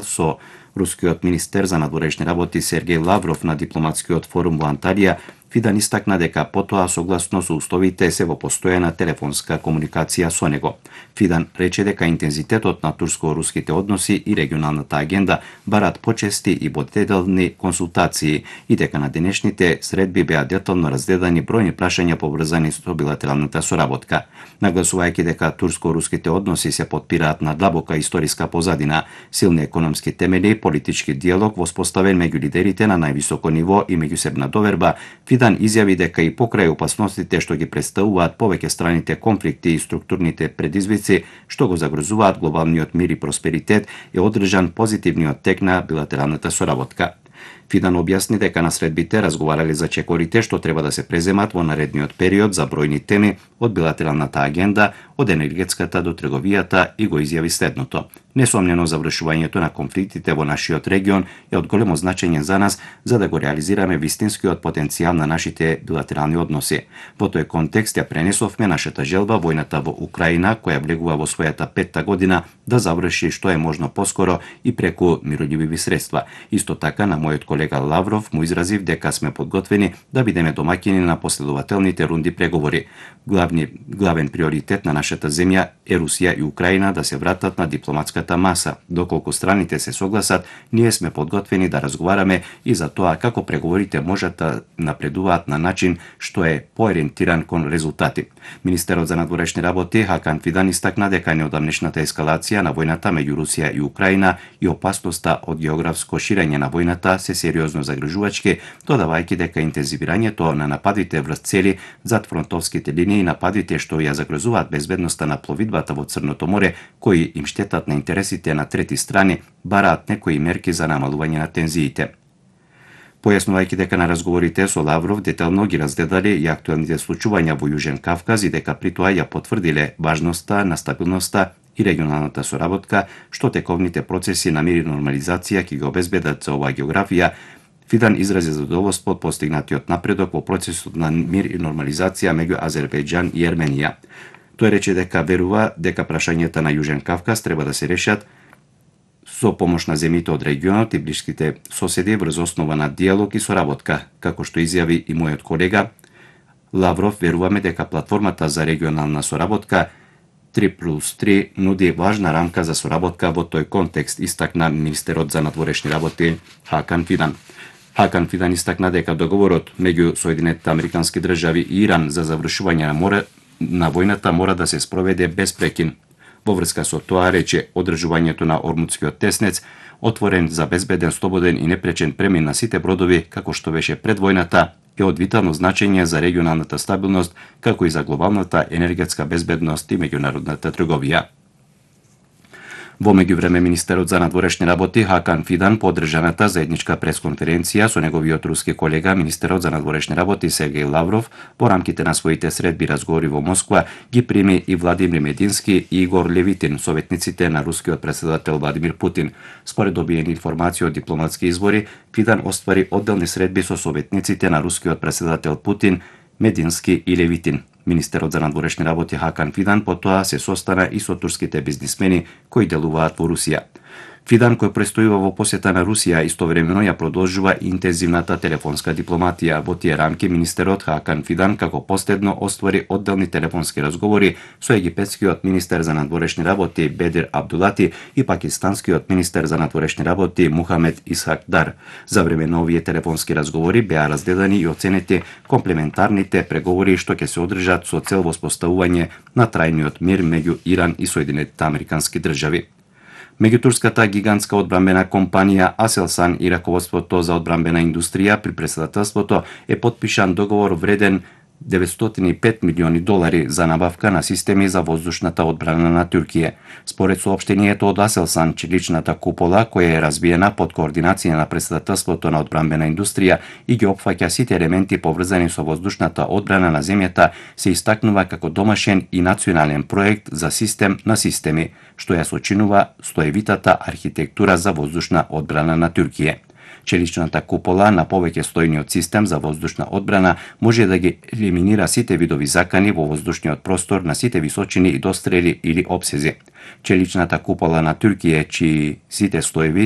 со рускиот министер за надворешни работи Сергеј Лавров на дипломатскиот форум во Анталија, Фидан истакна дека потоа согласно со уставите се во постојана телефонска комуникација со него. Фидан рече дека интензитетот на турско-руските односи и регионалната агенда барат почести и бодеделни консултации и дека на денешните средби беа детално разгледани бројни прашања поврзани со билатералната соработка. Нагласувајќи дека турско-руските односи се потпираат на длабока историска позадина, силни економски темели, политички диалог воспоставен меѓу лидерите на највисоко ниво и меѓусебна доверба, Фидан изјави дека и покрај опасностите што ги представуваат повеќе страните конфликти и структурните предизвици што го загрозуваат глобалниот мир и просперитет, е одржан позитивниот тек на билатералната соработка. Фидан објасни дека на средбите разговарале за чекорите што треба да се преземат во наредниот период за бројни теми од билатералната агенда, од енергетската до трговијата, и го изјави следното: несомнено завршувањето на конфликтите во нашиот регион е од големо значење за нас за да го реализираме вистинскиот потенцијал на нашите билатерални односи. Во тој контекст ја пренесовме нашата желба војната во Украина, која влегува во својата 5-та година, да заврши што е можно поскоро и преку миролюбиви средства. Исто така на мојот колега Лавров му изразив дека сме подготвени да бидеме домаќини на последователните рунди преговори. Главен приоритет на нашата земја е Русија и Украина да се вратат на дипломатската маса. Доколку страните се согласат, ние сме подготвени да разговараме и за тоа како преговорите можат да напредуваат на начин што е поориентиран кон резултати. Министерот за надворешни работи Хакан Фидан истакна дека неодамнешната ескалација на војната меѓу Русија и Украина и опасноста од географско ширење на војната се сериозно загрижувачки, додавајќи дека интензивирањето на нападите врз цели зад фронтовските линии и нападите што ја загрозуваат безбедноста на пловидбата во Црното море, кои им штетат на интересите на трети страни, бараат некои мерки за намалување на тензиите. Појаснувајќи дека на разговорите со Лавров детално ги разгледале и актуелните случувања во Јужен Кавказ и дека при тоа ја потврдиле важноста на стабилноста и регионалната соработка, што тековните процеси на мир и нормализација ќе го обезбедат за оваа географија, Фидан изрази задоволство од постигнатиот напредок во процесот на мир и нормализација меѓу Азербејџан и Ерменија. Тој рече дека верува дека прашањата на Јужен Кавказ треба да се решат со помош на земјите од регионот и блиските соседи врз основа на диалог и соработка. Како што изјави и мојот колега Лавров, веруваме дека платформата за регионална соработка 3+3 нуди важна рамка за соработка во тој контекст, истакна министерот за надворешни работи Хакан Фидан. Хакан Фидан истакна дека договорот меѓу Соединетите Американски држави и Иран за завршување на војната мора да се спроведе без прекин. Во врска со тоа рече, одржувањето на Ормудскиот теснец, отворен за безбеден, слободен и непречен премин на сите бродови, како што беше пред војната, е од витално значење за регионалната стабилност, како и за глобалната енергетска безбедност и меѓународната трговија. Во меѓувреме, министерот за надворешни работи Хакан Фидан по одржаната заедничка пресконференција со неговиот руски колега, министерот за надворешни работи Сергеј Лавров, во рамките на своите средби разговори во Москва, ги прими и Владимир Медински и Игор Левитин, советниците на рускиот претседател Владимир Путин. Според добиени информации од дипломатски извори, Фидан оствари одделни средби со советниците на рускиот претседател Путин, Медински и Левитин. Министерот за надворешни работи Хакан Фидан потоа се состана и со турските бизнисмени кои делуваат во Русија. Фидан, кој престојува во посета на Русија, истовремено ја продолжува интензивната телефонска дипломатија. Во тие рамки министерот Хакан Фидан како последно оствари одделни телефонски разговори со египетскиот министер за надворешни работи Бедир Абдулати и пакистанскиот министер за надворешни работи Мухамед Исхак Дар. За време на овие телефонски разговори беа разгледани и оценети комплементарните преговори што ќе се одржат со цел воспоставување на трајниот мир меѓу Иран и Соединетите Американски држави. Меѓу турската гигантска одбранбена компанија Aselsan и раководството за одбранбена индустрија при претседателството е потпишан договор вреден $905 милиони за набавка на системи за воздушната одбрана на Туркија. Според соопштението од Aselsan, чиличната купола, која е развиена под координација на претседателството на одбранбена индустрија и ги опфаќа сите елементи поврзани со воздушната одбрана на земјата, се истакнува како домашен и национален проект за систем на системи, што ја сочинува стоевитата архитектура за воздушна одбрана на Туркија. Челичната купола на повеќе стојниот систем за воздушна одбрана може да ги елиминира сите видови закани во воздушниот простор на сите височини и дострели или опсези. Челичната купола на Туркија, чии сите слоеви